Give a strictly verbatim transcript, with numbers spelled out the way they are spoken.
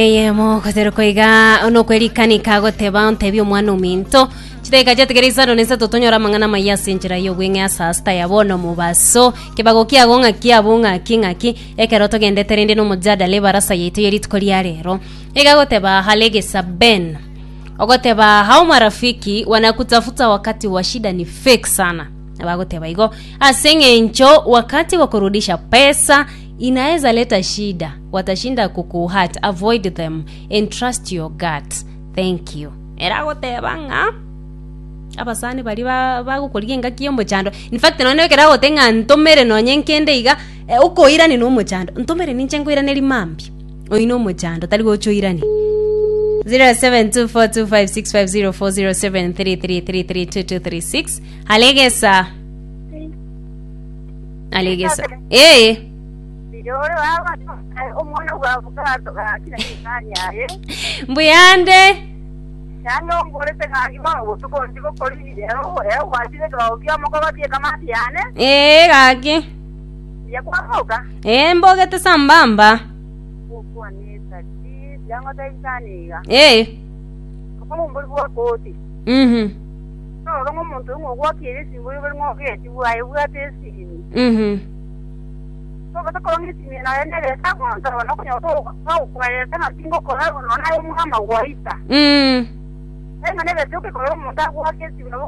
Eyemo goterekwa iga nokwerikanika goteba ontebi omwana ominto chidakika chiatigere isano na isato tonyora amang'ana amaya ase enchera ya obweng'e ase asita ya bono mobaso kebago kiago ng'aki abwo ng'aki ng'aki ekero togendete rende na omojadala ebarasa yaito ya rituko ria rero iga goteba halegesa ben ogoteba hao marafiki wanakutafuta wakati wa shida ni fake sana bagoteba igo ase eng'encho wakati wa kurudisha pesa inaweza leta shida watashinda kukuhurt avoid them and trust your gut thank you era agoteba ng'a abasani bari ba- bagokorigia engaki ya omochando in fact nonye ekero agote ng'a ntomere nonye nkende iga eh, okoirani na omochando ntomere ninche nkoiraneri mambia oyi na omochando tari gocha oirani zero seven two four two five six five zero four zero seven three three three three two two three six alegesa alegesa eh Birore baba omwana bwa gakina nikani aye mbuyande yano ngorete gaki bono botuko ndigokori rero rero gwachire kibago moko batie kamati yane eh gaki yakwaboka eh mbogete sambamba gukwanisa ti yango taisaniga eh omumburi bwa koti mhm no rongo omuntu ng'ogwakire esimbu ibere ng'ogeti bwaye bwate esimi mhm tobatakora esimi naye nereta gontoro nokunyota bagukwereta ng'a tingokora nona naye omwama gwaita mm enga nebete okekora omuntu agwake esimi nabo